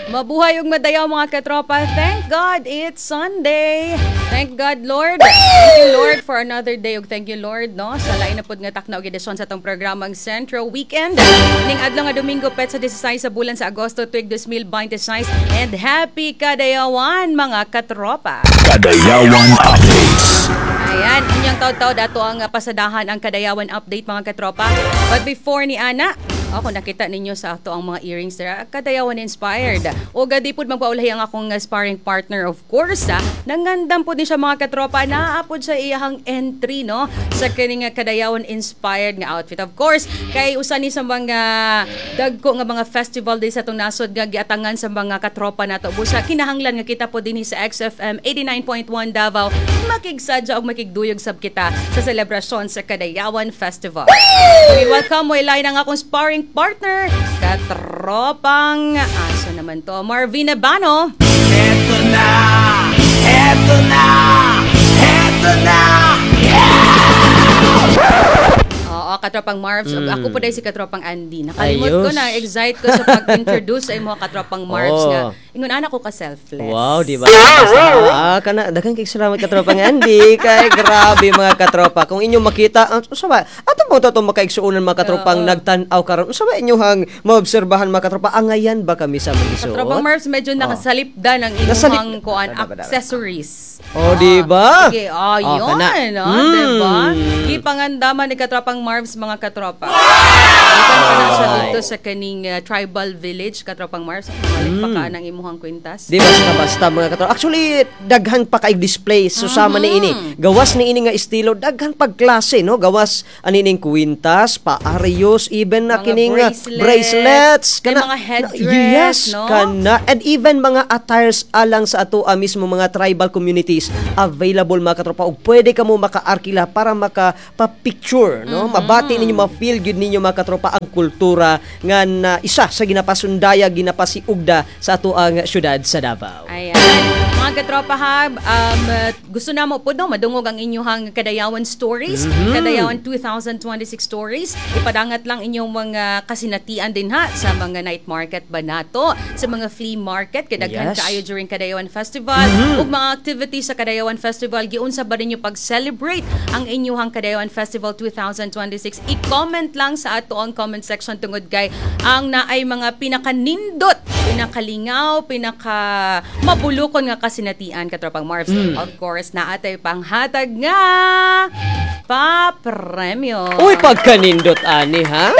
Mabuhay ug madayaw, mga katropa. Thank God it's Sunday. Thank God, Lord. Thank you, Lord, for another day ug thank you, Lord, no, sa lain na pud nga takna og edisyon sa atong programang Sentro Weekend. Ning adlaw nga Domingo, petsa 16 sa bulan sa Agosto, tuig 2026, and happy Kadayawan, mga katropa. Kadayawan Updates. Ayan, inyong taud-taud ato ang pasadahan ang Kadayawan Update, mga katropa. But before ni ana, ako nakita ninyo sa ato ang mga earrings there, Kadayawan inspired. O di pud magpaulahi ang akong sparring partner, of course. Nangandam pud ni siya, mga katropa, naapod sa iyahang entry, no, sa kining Kadayawan inspired nga outfit. Of course, kay usa ni sa mga dagko nga mga festival din sa atong nasod nga giatangan sa mga katropa nato. Busa kinahanglan nga kita po dinhi sa XFM 89.1 Davao makigsadya og makigduyog sab kita sa selebrasyon sa Kadayawan Festival. We welcome mo ilay ang akong sparring partner, katropang aso naman to, Marvin Abano. Eto na! Eto na! Eto na! Oo, katropang Marvs. Ako po dahil si katropang Andy. Nakalimot ko Ayos. na, excite ko sa pag-introduce sa imo, katropang Marvs, nga. Ingon ana ko ka selfless. Wow, di ba? Ah, kana daghan kay salamat, katropang Andy, kay grabe, mga katropa. Kung inyong makita, ang usa ba? Ato mo to makaigsuonan, mga katropang nagtan-aw karon. Usa ba inyong maobserbahan, mga katropa? Angayan ba kami sa mga isuot? Katropang Marvs, medyo nakasalipda ng imuhang kuan accessories. Oh, di ba? Sige, oh, Oh, yun, kana. oh, di ba? Gipangandaman ni katropang Marvs, mga katropa. Gikan pa na siya dito sa kaning tribal village, katropang Marvs. Balik pa ka ng imuhang kwintas. Di basta-basta, mga katropa. Actually, daghan pa kay display susama ni ini. Gawas ni ini nga estilo, daghan pag klase, no? Gawas anining kwintas, paariyos, even na mga kining bracelets, bracelets, may mga headdress, yes, no? Kana and even mga attires alang sa ato mismo mga tribal communities available, mga katropa, ug pwede kamo makaarkila para maka pa-picture, no? Mabati ninyo, ma-feel gyud ninyo, mga katropa, ang kultura nga na isa sa ginapasundaya, ginapasiugda sa ato ang syudad sa Davao. Ayan. Mga katropa ha, gusto na mo po, no, madungog ang inyong Kadayawan stories, Kadayawan 2026 stories. Ipadangat lang inyong mga kasinatian din ha sa mga night market ba nato, sa mga flea market, kadaghan kaayo during Kadayawan Festival, ug mga activities sa Kadayawan Festival, giunsa ba ninyo pag-celebrate ang inyong Kadayawan Festival 2026? I-comment lang sa ato ang comment section tungod kay ang naay mga pinakanindot, pinakalingaw, pinaka mabulukon nga kasinatian, katropang Marvs. Of course, naatay panghatag nga pa-premyo. Uy, pagkanindot ani ha?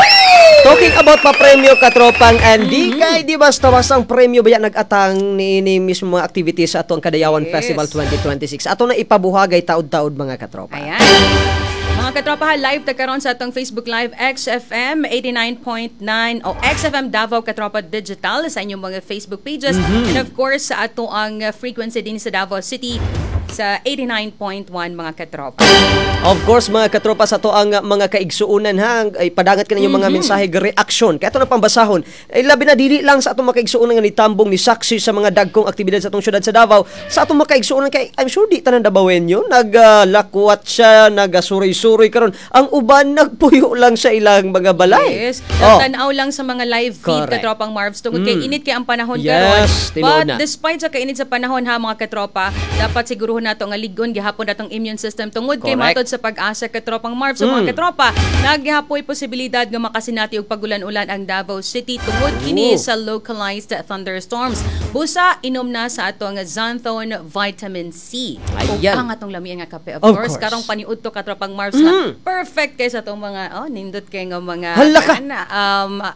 Talking about pa-premyo, katropang Andy, kay di basta-basta ang premyo baya nag-atang ni mismo mga activities sa ato ang Kadayawan Festival 2026. Ato na ipabuhagay taod-taod, mga katropa. Ayan. Mga katropa ha, live ta karon sa atong Facebook Live XFM 89.9 o XFM Davao Katropa Digital sa inyong mga Facebook pages and of course sa ato ang frequency din sa Davao City sa 89.1, mga katropa. Of course, mga katropa, sa to ang mga kaigsuunan ha, ay padangat ka ninyong mga mensahe, reaksyon. Kaya ito na pambasahon. Ay labi na dili lang sa atong mga kaigsuunan nga nitambong ni saksi sa mga dagkong aktibidad sa atong syudad sa Davao. Sa atong mga kaigsuunan kay I'm sure di tanan Dabawenyo, naglakwat siya, nagasuroy-suroy karon. Ang uban nagpuyo lang sa ilang mga balay. Yes. Tanaw lang sa mga live feed, katropang Marvs, tungod kay init kay ang panahon karon. Tinuod But na. Despite sa kainit sa panahon ha, mga katropa, dapat siguruhon nato nga ligon gihapon natong immune system tungod kay matod sa PAGASA, katropang Marvs, sa mga katropa, naggihapoy posibilidad nga makasinati og pagulan-ulan ang Davao City tungod kini sa localized thunderstorms. Busa inom na sa atong Xanthone Vitamin C. Ug ang atong lamian nga kape. Of Of course, course. Karong paniudto, katropang Marvs, nga perfect kay sa atong mga oh nindot kay nga mga Hala ka! ana,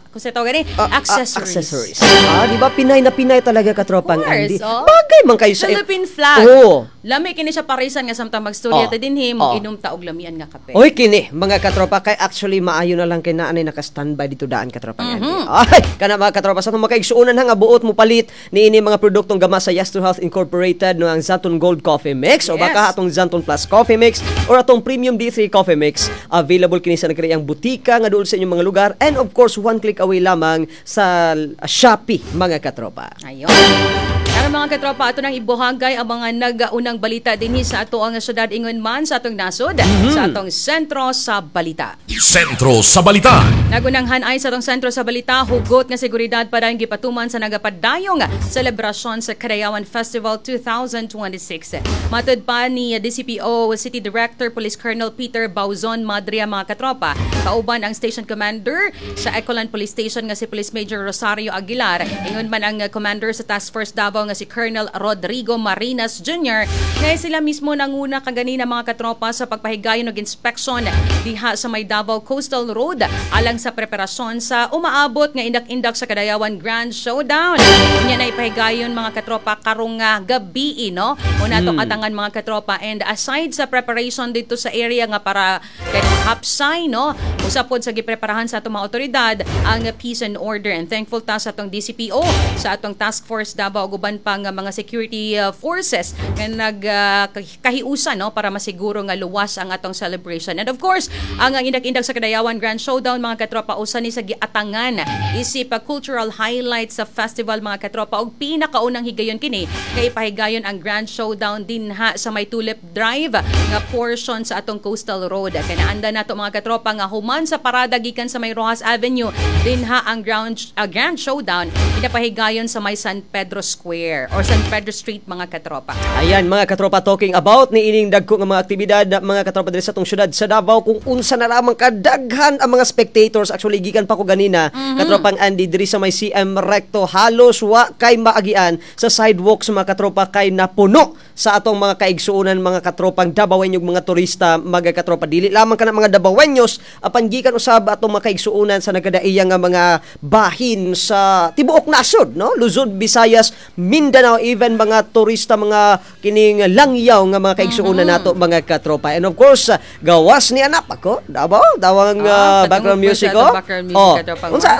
kung sa tawag gani, accessories. Accessories. Ah, di ba Pinay na Pinay talaga, katropang Of course, Andy. oh. Bagay man kayo sa Philippine flag. Lami kini siya parisan nga samtang magstorya ta dinhi, mo-inom ta og lamian nga kape. Oy, kini mga katropa, kay actually maayo na lang kay naanay naka-standby dito daan, katropang Andy. Ay, kana, mga katropa, sa atong makaigsuonan ha nga buot mo palit niini mga produktong gama sa Yes to Health Incorporated, no, ang Xanthone Gold Coffee Mix o baka atong Xanthone Plus Coffee Mix or atong Premium D3 Coffee Mix, available kini sa nagkariang butika nga duol sa inyong mga lugar and of course one click away lamang sa Shopee, mga katropa. Ayun. Karon Mga katropa, ato nang ibuhagay ang mga nagaunang balita dinhi sa ato ang syudad, ingon man sa atong nasod, sa atong Sentro sa Balita. Sentro sa Balita. Nagunang hanay sa atong Sentro sa Balita, hugot nga seguridad para ang gipatuman sa nagapadayong selebrasyon sa Kadayawan Festival 2026. Matud pa ni DCPO City Director Police Colonel Peter Bauzon Madria, mga katropa, kauban ang Station Commander sa Ecoland Police Station nga si Police Major Rosario Aguilar, ingon man ang Commander sa Task Force Davao nga si Colonel Rodrigo Marinas Jr., kaya sila mismo nanguna kaganina, mga katropa, sa pagpahigayon og inspection diha sa may Davao Coastal Road alang sa preparasyon sa umaabot nga Indak-Indak sa Kadayawan Grand Showdown. Unya na ipahigayon, mga katropa, karong nga gabi, no? Una to katangan, mga katropa, and aside sa preparation dito sa area nga para kay hapsay, no, usa pod sa gipreparahan sa atong mga otoridad ang peace and order, and thankful ta sa atong DCPO, sa atong Task Force Davao ug uban pa nga mga security forces nga nag kahiusan, no, para masiguro nga luwas ang atong celebration. And of course, ang Indak-Indak sa Kadayawan Grand Showdown, mga katropa, usa ni sa giatangan isip cultural highlights sa festival, mga katropa, ug pinakaunang higayon kini kay ipahigayon ang Grand Showdown dinha sa may Tulip Drive nga portion sa atong Coastal Road. Kay naanda nato, mga katropa, nga human sa parada gikan sa may Roxas Avenue dinha ang Grand Showdown ginapahigayon sa may San Pedro Square or San Pedro Street, mga katropa. Ayan, mga katropa, talking about ni ining dagko nga mga aktibidad na, mga katropa, diri sa atong syudad sa Davao, kung unsa na lamang kadaghan ang mga spectators. Actually, gikan pa ko ganina, katropang Andy, diri sa may CM Recto, halos wa kay maagian sa sidewalk sa mga katropa kay napuno sa atong mga kaigsuonan, mga katropang Dabawenyo, mga turista, mga katropa. Dili lamang kana mga Dabawenyos, apan gikan usab atong mga kaigsuonan sa nagkadaiya nga mga bahin sa tibuok nasod, no, Luzon, Visayas, Mindanao, even mga turista, mga kining langyaw nga mga kaigsuonan nato, mga katropa. And of course, gawas ni anak ako Davao dawang Ah, background padungog po music sa oh. atong background music, Oh. katropang Unsa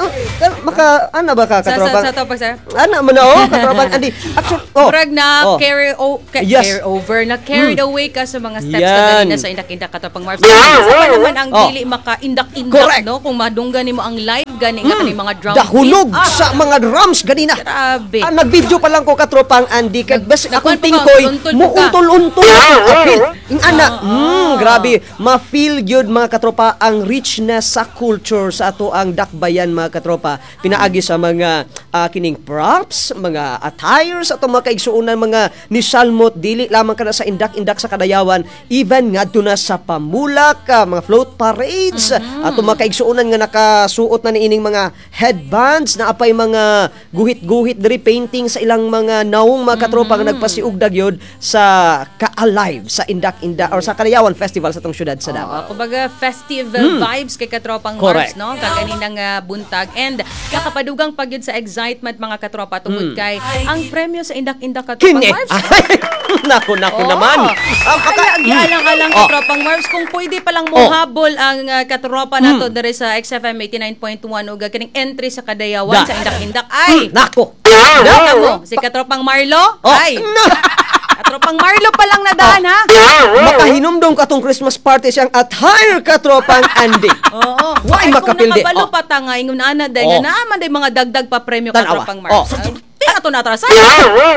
maka ana ba ka, katropa? Sa to pa, sir? Ana man na, oh, katropang Andy, actually, oh. Murag na carry carry over na carried away ka sa mga steps Yan. ka ganina sa Indak-Indak, katropang Marbs. Sa pa naman ang dili maka indak-indak, no, kung madunggan nimo ang live gani nga kaning mga drum Dahunog beat. Ah, sa mga drums ganina. Grabe. Ah, nag-video pa lang ko, katropang Andy, kay bas akong nagkuwan pa ka, tingkoy untol pa ka. muuntol-untol ang apil. Ing ana, grabe, ma-feel gyud, mga katropa, ang richness sa culture sa ato ang dakbayan, mga katropa. Pinaagi sa mga kining props, mga attires atong mga kaigsuonan, mga nisalmot, dili lamang kana sa Indak-Indak sa Kadayawan, even ngadto na sa pamulak, mga float parades, atong mga kaigsuonan nga nakasuot na niining mga headbands na apay mga guhit-guhit diri, painting sa ilang mga naong, mga katropa, nga nagpasiugdag yun sa ka-alive sa Indak-Indak or sa Kadayawan Festival sa atong syudad sa Davao. Oo, kumbaga festive vibes kay katropang Correct. Marbs, no? Kaganinang buntag. And nakapadugang pagyud sa excitement, mga katropa, tungod kay ang premyo sa Indak-Indak, katropang Kini. Marbs. Ay, naku, naku Oo. naman. Ang Ay, alang-alang, katropang Marbs, kung pwede palang mohabol ang katropa nato diri sa XFM 89.1 ug kining entry sa Kadayawan Da. sa Indak-Indak ay Nako. Nakita mo, si katropang Marlo, Oh, ay, na. katropang Marlo pa lang nadaan ha. Makahinumdong katong Christmas party siyang attire, katropang Andy. Oo. Why Ay, kung makapildi? nakabalo Oh. pa ta nga ingon ana day Oh. nga naa man day mga dagdag pa premyo, Tanawa. katropang Marbs. Oh. Di na to natrasan.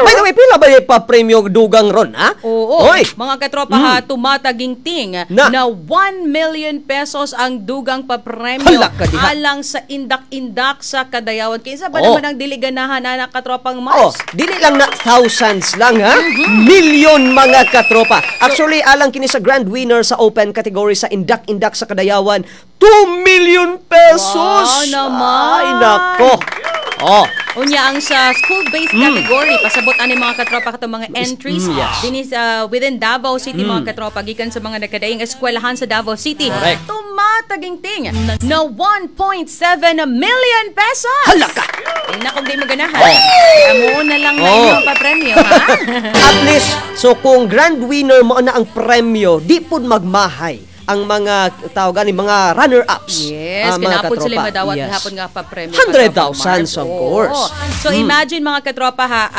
By the way, pila ba yung pa-premyo dugang ron, ha? Oo. Oy. Mga katropa ha, tumataginting Na. na 1 million pesos ang dugang papremyo Hala ka diha. alang sa Indak-Indak sa Kadayawan. Kinsa ba Oo. naman ang dili ganahan ana, katropang Oh, Marbs? dili lang na thousands lang ha. Million, mga katropa. Actually, alang kini sa grand winner sa open category sa Indak-Indak sa Kadayawan, 2 million pesos. Wow naman. Ay nako. Oh, Unya ang sa school-based category, pasabot ani, mga katropa, katong mga entries dinhi sa within Davao City, mga katropa, gikan sa mga nagkadaing eskwelahan sa Davao City. Correct. Tumataginting na 1.7 million pesos. Hala ka! Eh, na kung di mo ganahan. Oh. Amo na lang na Oh. inyo pa premyo, ha? At least, so kung grand winner mo na ang premyo, di pud magmahay ang mga tawag ani, mga runner-ups. Yes, ah, mga kinapod sila katropa. madawat hapon nga pa premyo. 100,000, of course. So imagine, mga katropa ha,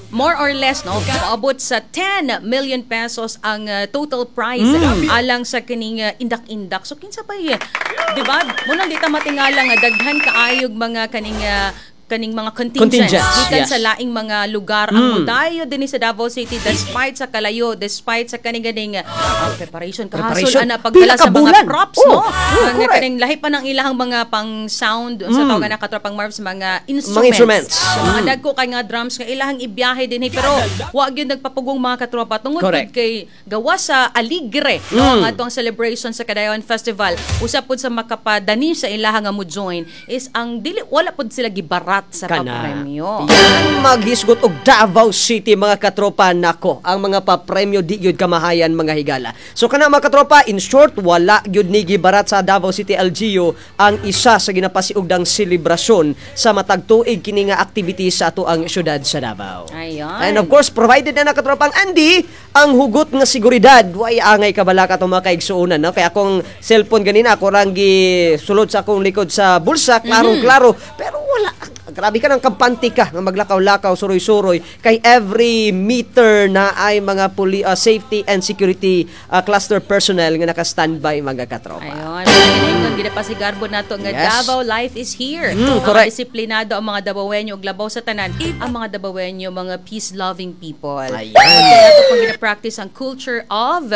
more or less, no, moabot sa 10 million pesos ang total prize alang sa kining indak-indak. So kinsa pa 'di ba? Munang di ta matingala nga daghan kaayog mga kaning kaning mga contingents, Contingents, gikan sa laing mga lugar ang mudayo dinhi sa Davao City despite sa kalayo, despite sa kaning ganing preparation kahasol Preparation. ana Pila pagdala ka sa mga bulan. props, Oh, no, oh, ang correct. kaning lahi pa ng ilahang mga pang sound sa tawag na katropang Marvs, mga instruments, Mga instruments. Mga dagko kay nga drums nga ilahang ibiyahe dinhi, pero wa gyud nagpapugong, mga katropa, tungod gud kay gawa sa aligre, no, ang atong celebration sa Kadayawan Festival. Usa pud sa makapadani sa ilaha nga mo join is ang dili wala pud sila gibarat sa Kana. papremyo. Yan, maghisgot og Davao City, mga katropa, nako. Ang mga papremyo di gyud kamahayan, mga higala. So kana, mga katropa, in short, wala gyud ni gibarat sa Davao City LGU ang isa sa ginapasiugdang selebrasyon sa matag tuig kini nga activity sa ato ang syudad sa Davao. Ayan. And of course, provided na katropang Andy ang hugot nga seguridad. Way angay kabalaka atong mga kaigsuonan, no? Kaya akong cellphone ganina ako rang sulod sa akong likod sa bulsa, klarong-klaro. Pero wala, grabe ka ng kampante ka nga maglakaw-lakaw, suroy-suroy kay every meter na ay mga safety and security cluster personnel nga naka-standby, mga katropa. Ayun, mga ginaingon, ginapasigarbo nato nga Davao life is here. Mga disiplinado ang mga Dabawenyo ug labaw sa tanan, ang mga Dabawenyo mga peace-loving people. Ayan. Kaya nato pong gina-practice ang culture of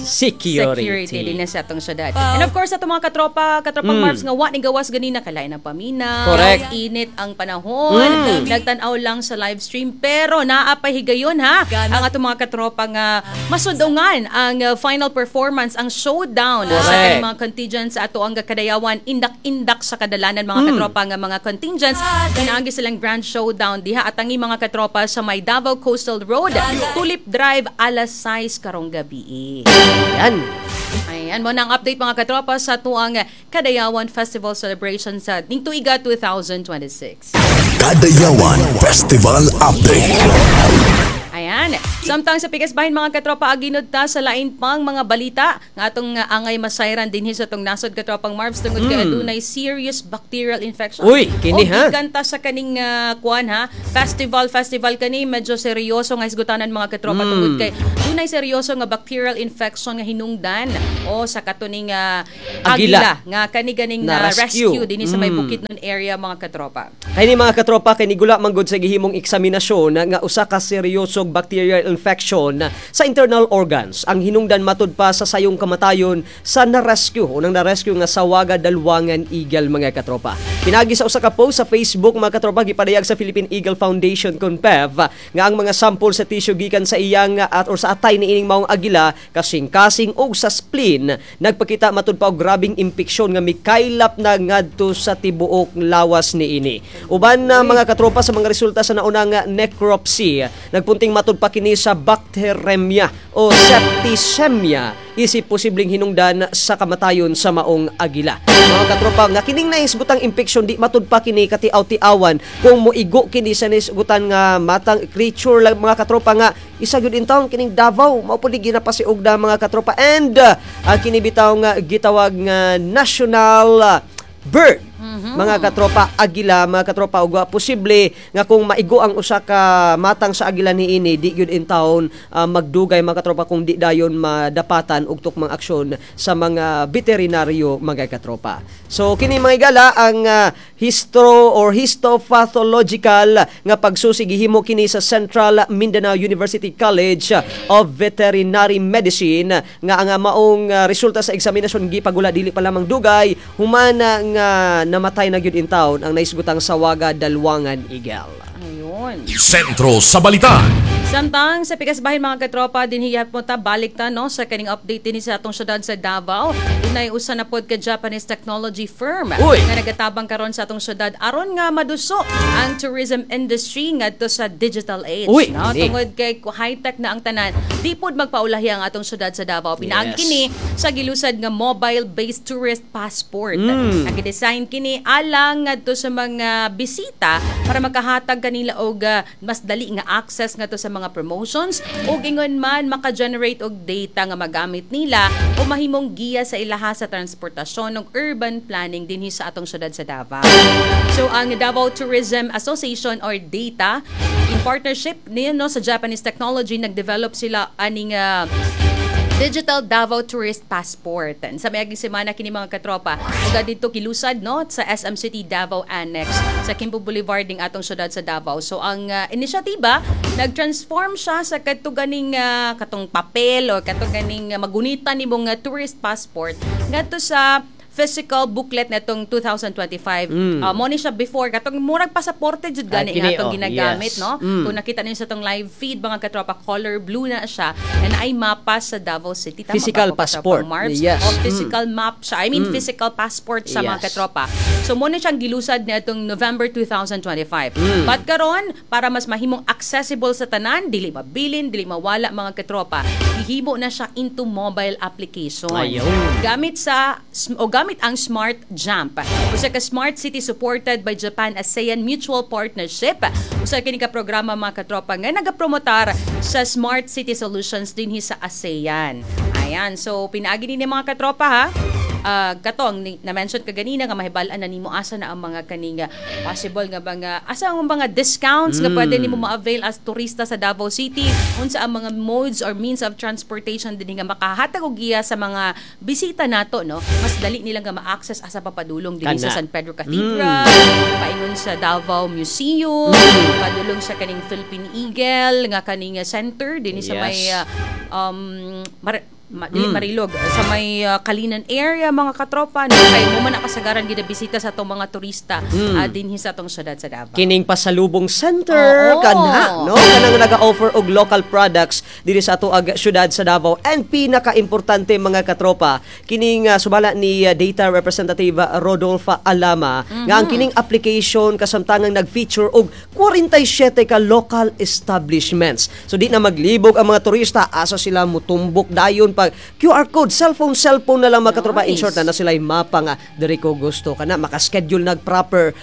Security. security din sa atong syudad. And of course, atong mga katropa, katropang Marvs nga wa ni gawas ganina kalay ng paminaw, init ang panahon, nagtan-aw lang sa live stream, pero naa pa higayon ha ang atong mga katropa nga masudungan ang final performance, ang showdown sa kaning mga contingents sa ato ang Kadayawan indak-indak sa kadalanan, mga katropa, nga mga contingents pinaagi silang grand showdown diha atangi, mga katropa, sa may Davao Coastal Road, Tulip Drive, alas 6 karong gabi. Yan. Ayan, mao na ang update, mga katropa, sa tuang Kadayawan Festival Celebration sa ning tuiga 2026. Kadayawan Festival Update. Ayan. Samtang sa pikas bahin, mga katropa, aginod ta sa lain pang mga balita nga atong angay masayran dinhi sa atong nasod, katropang Marvs, tungod kay adunay serious bacterial infection. Uy, kini, Og ha? gikan ta sa kaning kuan ha, festival festival kani medyo seryoso nga hisgutanan, mga katropa, tungod kay dunay seryoso nga bacterial infection nga hinungdan o sa katuning Agila. agila nga kani ganing Na na rescue. rescue dinhi sa may Bukidnon area, mga katropa. Kay ni, mga katropa, kay nigula manggod sa gihimong eksaminasyon nga usa ka seryosong bacterial infection sa internal organs ang hinungdan matud pa sa sayong kamatayon sa na-rescue unang na-rescue nga Sawaga Dalwangan Eagle, mga katropa. Pinagi sa usa ka post sa Facebook, mga katropa, gipadayag sa Philippine Eagle Foundation CONPEV nga ang mga sample sa tissue gikan sa iyang at or sa atay ni ining maong agila, kasing-kasing og sa spleen nagpakita matud pa og grabing impeksyon nga mikaylap na ngadto sa tibuok lawas niini. Uban na, mga katropa, sa mga resulta sa naunang necropsy, nagpunting matud pa kini sa bacteremia o septicemia isip posibleng hinungdan sa kamatayon sa maong agila. Mga katropa, nga kining nahisgutang infection di matud pa kini katiaw-tiawan kung moigo kini sa nahisgutan nga matang creature lang, mga katropa, nga isa gyud intawon kining Davao mao pud ni ginapasiugda, mga katropa, and kini bitaw nga gitawag nga national bird, mga katropa, agila, mga katropa, ug posible nga kung maigo ang usa ka matang sa agila niini di gyud in taon magdugay, mga katropa, kung di dayon madapatan og tukmang aksyon sa mga veterinaryo, mga katropa. So kini, mga igala, ang histro or histopathological nga pagsusi gihimo kini sa Central Mindanao University College of Veterinary Medicine nga ang maong resulta sa eksaminasyon gipagula dili pa lamang dugay human nga namatay na gyud in taon ang naisgutang Sawaga Dalwangan Eagle. Ayun. Sentro sa Balita. Samtang sa pikas bahin, mga katropa, dinhiyat mo ta balik ta, no, sa kaning update dinhi sa atong syudad sa Davao. Dunay usa na pod ka Japanese technology firm Uy! nga nagatabang karon sa atong syudad aron nga maduso ang tourism industry ngadto sa digital age, Uy, no? kini. Tungod kay high-tech na ang tanan, di pod magpaulahi ang atong syudad sa Davao. Pinaagi kini sa gilusad nga mobile-based tourist passport. Ang gidesign kini alang ngadto sa mga bisita para makahatag kanila og mas dali nga access ngadto sa mga promotions ug ingon man maka-generate og data nga magamit nila o mahimong giya sa ilaha sa transportasyon ug urban planning dinhi sa atong syudad sa Davao. So ang Davao Tourism Association or DATA in partnership niyo, no, sa Japanese technology, nag-develop sila aning Digital Davao Tourist Passport. Sa miaging semana kini, mga katropa, ug didto gilusad, no, sa SM City Davao Annex sa Quimpo Boulevard ning atong syudad sa Davao. So ang inisyatiba, nag-transform siya sa kadto ganing katong papel o kadto ganing magunitan nimong tourist passport ngadto sa physical booklet netong 2025. Mo ni siya before katong murag pasaporte jud gani Ah, kini, nga atong oh, ginagamit, no? Kung nakita ninyo sa tong live feed, mga katropa, color blue na siya and ay mapa sa Davao City. Tama Physical ba ako, katropang passport. Marbs? Yes. O physical map siya. I mean, physical passport sa mga katropa. So mo na siyang gilusad niadtong November 2025. But karon, para mas mahimong accessible sa tanan, dili mabilin, dili mawala, mga katropa, gihimo na siya into mobile application. Ayun. Gamit sa o gamit ang Smart Jump. Usa ka smart city supported by Japan ASEAN Mutual Partnership. Usa kini ka programa, mga katropa, nga nagapromotar sa smart city solutions dinhi sa ASEAN. Ayan, so pinaagi ni mga katropa ha. Katong na-mention ka ganina nga mahibal-an na nimo asa na ang mga kaning possible nga mga asa ang mga discounts nga pwede nimo ma-avail as turista sa Davao City, unsa ang mga modes or means of transportation dinhi nga makahatag og giya sa mga bisita nato, no, mas dali nila nga ma-access asa papadulong dinhi sa Kana. San Pedro Cathedral, paingon sa Davao Museum, padulong sa kaning Philippine Eagle nga kaning center dinhi sa may dili Marilog, sa may Kalinan area, mga katropa, no, kay mo man kasagaran ginabisita sa atong mga turista dinhi sa atong syudad sa Davao. Kining pasalubong center kana, no, kanang naga-offer og local products diri sa ato ag syudad sa Davao. And pinaka-importante, mga katropa, kining sumala ni Data Representative Rodolfa Alama nga ang kining application kasamtangang nag-feature og 47 ka local establishments. So di na maglibog ang mga turista asa sila mutumbok dayon pag QR code, cellphone cellphone na lang, mga katropa. In short, na na sila mapa nga diri ko gusto kana, maka-schedule nag proper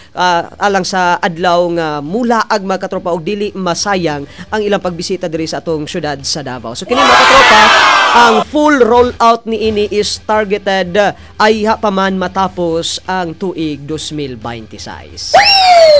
alang sa adlaw nga mulaag, mga katropa, og dili masayang ang ilang pagbisita diri sa atong syudad sa Davao. So kini, mga katropa, ang full rollout niini is targeted ay ha pa man matapos ang tuig 2026.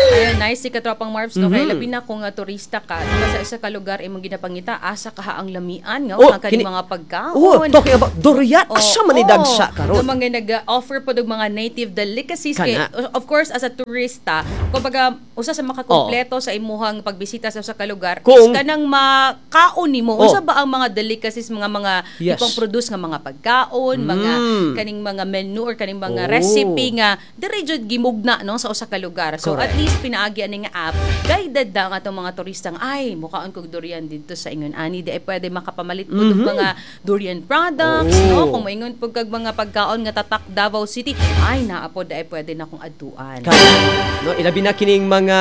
Ayun, nice si katropang Marvs, no? Kay labi na kung turista ka, diba, sa isa ka lugar imong ginapangita, asa kaha ang lamian nga, oh, ang kaning mga pagkaon. Oh, talking about durian, asa man ni dagsa karon? Yung mga nag-offer po og mga native delicacies kay Kana. of course as a turista, kumbaga usa sa makakumpleto sa imuhang pagbisita sa usa ka lugar is kanang makaon nimo. Unsa ba ang mga delicacies, mga ipang produce nga mga pagkaon, mga kaning mga menu or kaning mga recipe nga diri jud gimugna, no, sa usa ka lugar. So at least pinaagi ani nga app, guided na ang atong mga turista nga, ay, mukaon kog durian didto sa ingon ani di ay pwede makapamalit po og mga durian products, no? Kung moingon pud kag mga pagkaon nga tatak Davao City, ay, naa pod ay pwede na kong adtuan. Kana, no, ilabi na kining mga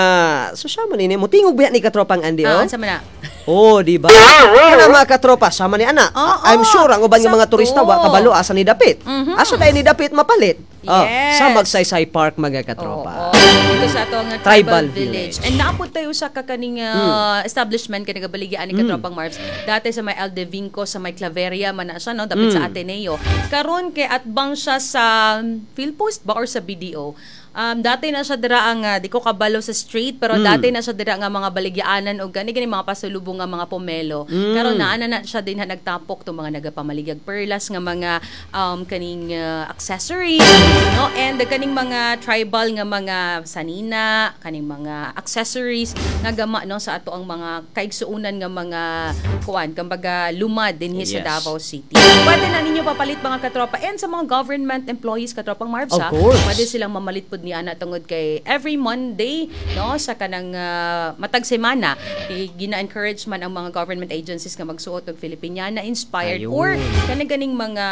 so siya man ini motingog ba ni katropang Andy, Ah, oh? unsa man na? Oh, di ba? Kana, mga katropa, sama ni ana. Oo, I'm sure ang uban nga mga sakto. turista wa kabalo asa ni dapit. Asa dai ni dapit mapalit? Oh, sa Magsaysay Park, mga katropa. Oo. Dito sa ato nga tribal Tribal village. village. And naapod tayo sa kakaning establishment kani gabaligyan ni katropang Marvs. Dati sa may Aldevinco, sa may Claveria man na siya, no, dapit sa Ateneo. Karon kay atbang siya sa Philpost ba or sa BDO. Dati na siya dira ang di ko kabalo sa street, pero dati na siya dira nga mga baligyaanan og gani gani mga pasulubong nga mga pomelo. Karon naa na na siya din ha, nagtapok tong mga nagapamaligyag perlas nga mga kaning accessories, no, and kaning mga tribal nga mga sanina, kaning mga accessories nga gama, no, sa ato ang mga kaigsuunan nga mga kuan, kumbaga lumad dinhi sa Davao City. Pwede na ninyo papalit, mga katropa, and sa mga government employees, katropang Marvs, Of ha, course. pwede silang mamalit pud ni ana tungod kay every Monday, no, sa kanang matag semana gina-encourage man ang mga government agencies nga magsuot og Filipiniana inspired or kanang ganing mga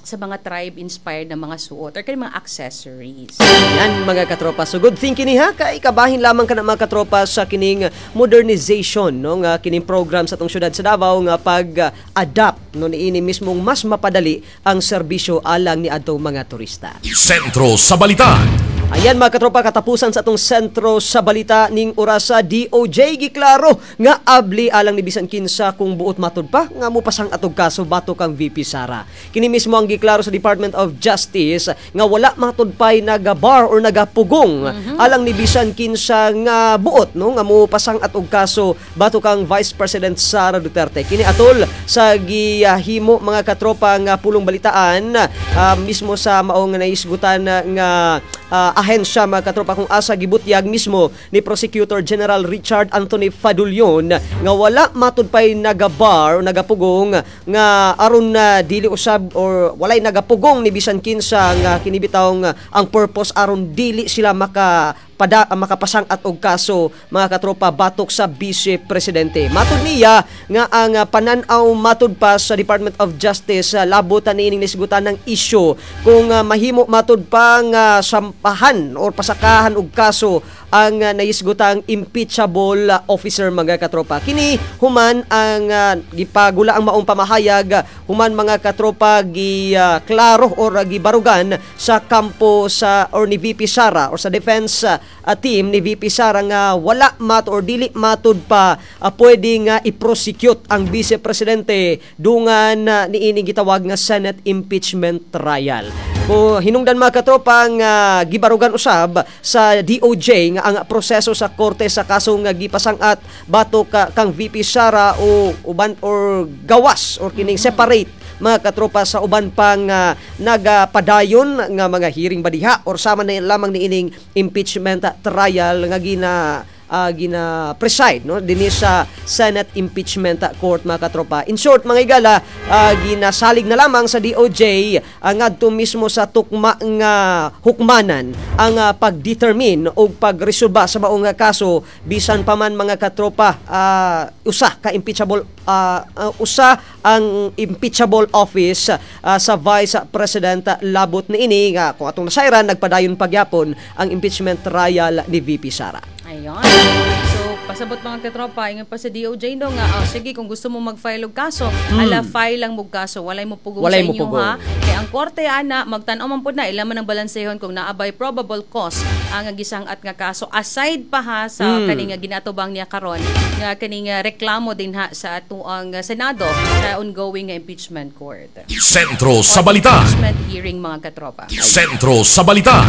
sa mga tribe inspired na mga suot or kaning mga accessories. Yan, mga katropa. So good thinking ni ha kay kabahin lamang kana, mga katropa, sa kining modernization, no, nga kining program sa atong syudad sa Davao nga pag-adapt, no, niini mismong mas mapadali ang serbisyo alang ni adtong mga turista. Sentro sa Balita. Ayan mga katropa, katapusan sa atong Sentro sa Balita ning orasa. DOJ giklaro nga abli alang ni bisan kinsa kung buot matud pa nga mopasang-at og kaso batok kang VP Sara. Kini mismo ang giklaro sa Department of Justice nga wala matud pay nagabar or nagapugong alang ni bisan kinsa nga buot, no, nga mopasang-at og kaso batok kang Vice President Sara Duterte. Kini atol sa gihimo, mga katropa, nga pulong balitaan mismo sa maong naisgutan nga ahensya, mga katropa, kung asa gibutyag mismo ni Prosecutor General Richard Anthony Fadullon nga wala matud pay nagabar o nagapugong nga aron na dili usab or walay nagapugong ni bisan kinsa nga kinibitawng ang purpose aron dili sila makapasang-at og kaso, mga katropa, batok sa Vice Presidente. Matud niya nga ang panan-aw matud pa sa Department of Justice labot niining nisgutan ng issue kung mahimo matud pa nga sampahan or pasakahan og kaso ang naisgutang impeachable officer, mga katropa. Kini human ang gipagula ang maong pamahayag human, mga katropa, gi klaro or gibarugan sa kampo sa or ni VP Sara or sa defense team ni VP Sara nga wala mat or dili matud pa pwede nga i-prosecute ang vice presidente dungan niining gitawag nga Senate impeachment trial. Kung hinungdan, mga katropa, nga gibarugan usab sa DOJ nga ang proseso sa korte sa kaso nga gipasang-at batok kang VP Sara o uban or gawas or kining separate, mga katropa, sa uban pang nagapadayon nga mga hearing ba diha or sama na lamang niining impeachment trial nga gina preside, no, dinhi sa Senate Impeachment Court, mga katropa. In short, mga igala, ginasalig na lamang sa DOJ ngadto mismo sa tukma nga hukmanan ang pagdetermine o pagresolba sa maong kaso, bisan pa man, mga katropa, usa ka impeachable usa ang impeachable office sa Vice President labot niini nga kung atong nasayran nagpadayon pagyapon ang impeachment trial ni VP Sara. Ayun. So, pasabot, mga katropa, ingon pa sa DOJ, no, nga, oh, sige, kung gusto mo mag-file og kaso, ala, file lang mo kaso, walay mo pugong Walay sa mo inyo pugong. Ha. Kay ang korte ana magtan-aw man pud na ila man ang balansehon kung naa bay probable cause ang gisang-at nga kaso aside pa ha sa kaning nga ginatubang niya karon nga kaning reklamo din ha sa atuang Senado sa ongoing nga impeachment court. Sentro sa Balita. Impeachment hearing, mga katropa. Sentro sa Balita.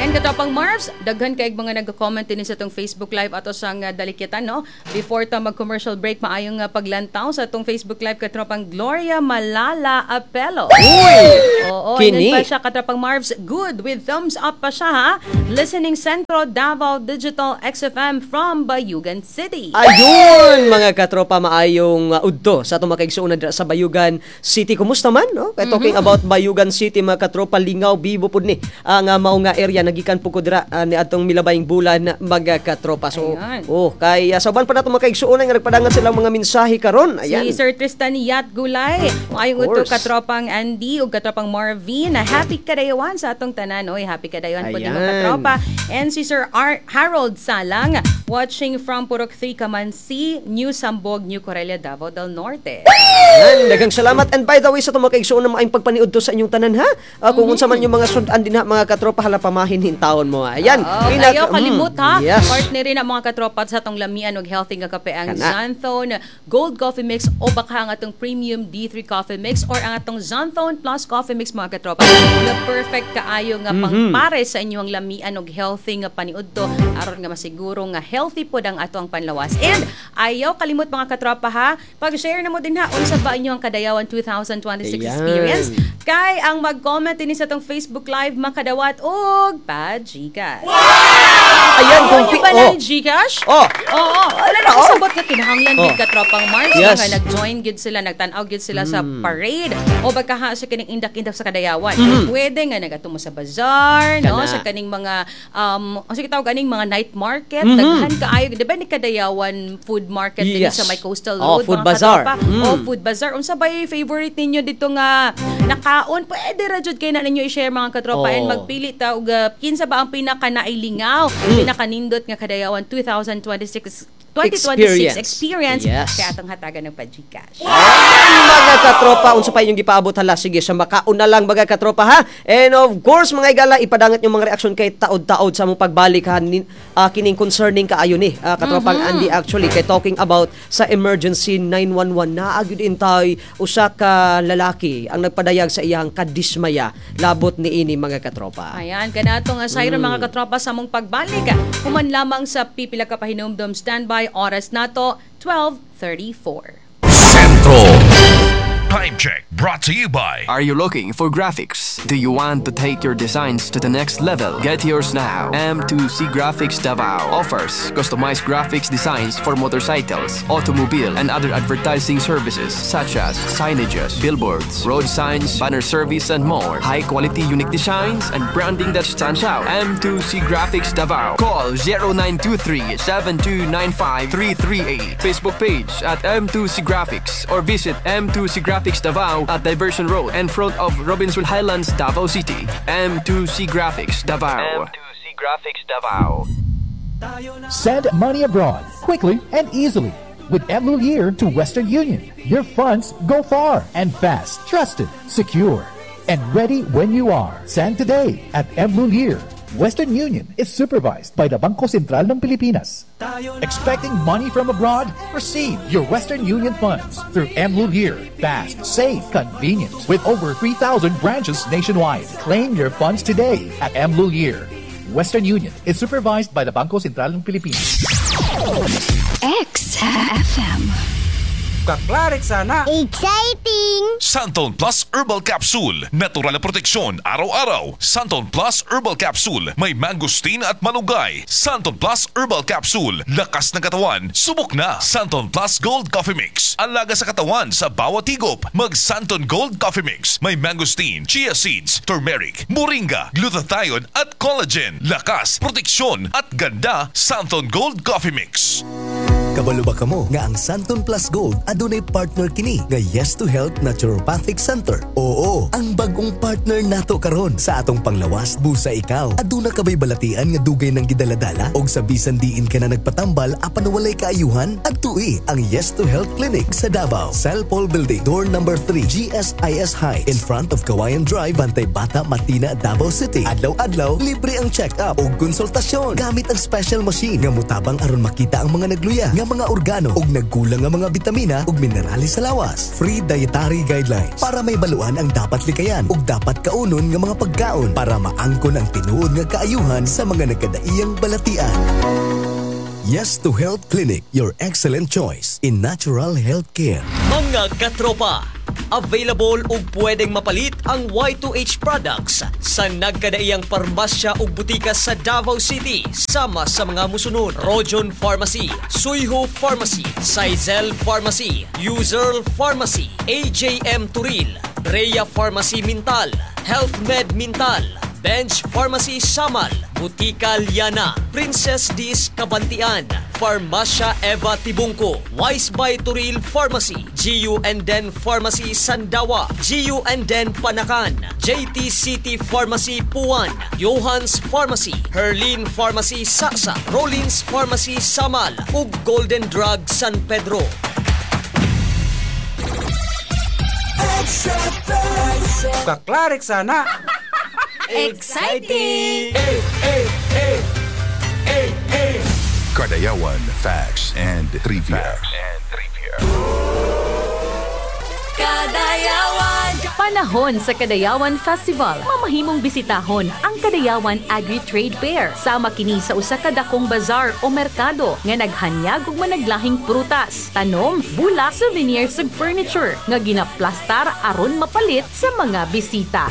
Ayan, katropang Marvs, daghan kay mga nag-comment din sa atong Facebook Live ato sang dalikitan, no. Before ta mag-commercial break, maayong paglantaw sa atong Facebook Live katropang Gloria Malala Apelo. Uy! Oo, Kini. ingon pa siya, katropang Marvs, good with thumbs up pa siya ha. Listening Centro Davao Digital XFM from Bayugan City. Ayun, mga katropa, maayong udto sa atong mga kaigsuonan dira sa Bayugan City. Kumusta man, no? Kay talking about Bayugan City, mga katropa, lingaw bibo pud ni ang mao nga area, nagikan pud ko dira ni atong milabayng bulan, mga katropa. So, Ayun. oh, kay sa uban pa nato mga kaigsuonan nga nagpadangan silang mga mensahe karon. Ayan. Si Sir Tristan Yat Gulay. Maayong udto Course. katropang Andy ug katropang Marvin. Happy kadayawan sa atong tanan. Oy, happy kadayawan po mga Ayan. katropa. And si Sir Harold Salang watching from Purok 3 Kamansi, New Sambog, New Corella, Davao del Norte. Yan, daghang salamat. And by the way, sa itong mga kaigsuonan, maayong pagpaniud to sa inyong tanan ha. Kung unsa man yung mga sudan din ha, mga katropa, hala, pamahin hintawon mo. Ayan. Oo, kayo kalimot ha. Yes. Partner rin ang mga katropa sa atong lamian og healthy nga kape ang Kana. Xanthone Gold Coffee Mix o baka ang atong Premium D3 Coffee Mix or ang atong Xanthone Plus Coffee Mix, mga katropa. Nga perfect kaayo nga pangpare sa inyong lamian og healthy nga paniudto aron nga masiguro nga healthy pod ang ato ang panlawas. And ayaw kalimot, mga katropa ha, pag-share na mo din ha unsa ba inyong kadayawan 2026 Ayan. experience kay ang mag-comment din sa atong Facebook Live makadawat og pa GCash. Ayan, kung Ano ba oh. na GCash? Oh. Oo. Wala na kasabot nga kinahanglan gid katropang Mars nga nag-join gid sila, nagtan-aw gid sila sa parade o baka ha sa kining indak-indak sa kadayawan. Pwede nga nagadto mo sa bazaar, no, Kana. sa kaning mga ang sige tawag aning mga night market, daghan kaayo, di ba ni Kadayawan food market din sa may coastal Oh, road, food mga bazaar. katropa? Oh, food bazaar. Unsa ba yung favorite ninyo dito nga nakaon? Pwede ra jud kay na ninyo i-share, mga katropa, and magpili ta og kinsa ba ang pinaka nailingaw, pinakanindot nga Kadayawan 2026 2026 Experience. Experience. Yes. Kaya atong hatagan ng pa-GCash. Mga katropa, unsa pa inyong gipaabot hala? Sige, sa makauna lang, mga katropa, ha. And of course, mga igala, ipadangat yung mga reaksyon kay taod-taod sa mong pagbalik ha kining concerning kaayo ni katropang Andy, actually kay talking about sa emergency 911, naa gyud intay usa ka lalaki ang nagpadayag sa iyang kadismaya labot niini, mga katropa. Ayan, kanato nga sayro, mga katropa, sa mong pagbalik. Human lamang sa pipila ka pahinumdom, standby oras nato 12:34. Sentro. Time check brought to you by Are you looking for graphics? Do you want to take your designs to the next level? Get yours now. M2C Graphics Davao offers customized graphics designs for motorcycles, automobile, and other advertising services such as signages, billboards, road signs, banner service, and more. High quality, unique designs and branding that stands out. M2C Graphics Davao. Call 0923 7295 338. Facebook page at M2C Graphics or visit M2C Graphics Davao at Diversion Road in front of Robinson Highlands, Davao City. M2C Graphics Davao. M2C Graphics Davao. Send money abroad quickly and easily with M Lhuillier to Western Union. Your funds go far and fast, trusted, secure, and ready when you are. Send today at M Lhuillier. Western Union is supervised by the Bangko Sentral ng Pilipinas. Expecting money from abroad? Receive your Western Union funds through M Lhuillier. Fast, safe, convenient, with over 3,000 branches nationwide. Claim your funds today at M Lhuillier. Western Union is supervised by the Bangko Sentral ng Pilipinas. X FM. Kaklarik sana. Exciting! Santon Plus Herbal Capsule. Natural na proteksyon araw-araw. Santon Plus Herbal Capsule. May mangosteen at malunggay. Santon Plus Herbal Capsule. Lakas ng katawan. Subok na. Santon Plus Gold Coffee Mix. Alaga sa katawan sa bawat higop. Mag Santon Gold Coffee Mix. May mangosteen, chia seeds, turmeric, moringa, glutathione at collagen. Lakas, proteksyon at ganda. Santon Gold Coffee Mix. Kabalo ba kamo nga ang Santon Plus Gold adunay partner kini nga Yes to Health Naturopathic Center? Oo, ang bagong partner nato karon sa atong panglawas. Busa ikaw, aduna ka bay balatian nga dugay nang gidaladala og sa bisan diin ka na nagpatambal apan walay kaayuhan? Adtui ang Yes to Health Clinic sa Davao. Cellpol Building, door number 3, GSIS High, in front of Kawayan Drive, Bantay Bata, Matina, Davao City. Adlaw-adlaw, libre ang check-up ug konsultasyon gamit ang special machine nga mutabang aron makita ang mga nagluya nga mga organo ug nagkulang nga mga bitamina ug minerales sa lawas. Free dietary guidelines para may baluan ang dapat likayan ug dapat kaunon nga mga pagkaon para maangkon ang tinuod nga kaayuhan sa mga nagkadaiyang balatian. Yes to Health Clinic, your excellent choice in natural health care. Mga katropa, available ug pwedeng mapalit ang Y2H products sa nagkadaiyang parmasya ug butika sa Davao City sama sa mga musunod: Rojon Pharmacy, Suyho Pharmacy, Saizel Pharmacy, Userl Pharmacy, AJM Turil, Rhea Pharmacy Mintal, Health Med Mintal, Bench Pharmacy Samal, Butika Liana, Princess Dis Kabantian, Farmacia Eva Tibungko, Wise by Turil Pharmacy, GU and Den Pharmacy Sandawa, GU and Den Panacan, JT City Pharmacy Puan, Johans Pharmacy, Herlin Pharmacy Sasa, Rollins Pharmacy Samal, ug Golden Drug San Pedro. Kaklarik sana. Exciting! Kadayawan Facts and Trivia. Kadayawan! Panahon sa Kadayawan Festival, mamahimong bisitahon ang Kadayawan Agri-Trade Fair. Sama kini sa usa ka dakong bazaar o merkado nga naghanyag og managlahing prutas, tanom, bulak, souvenirs ug furniture nga ginaplastar aron mapalit sa mga bisita.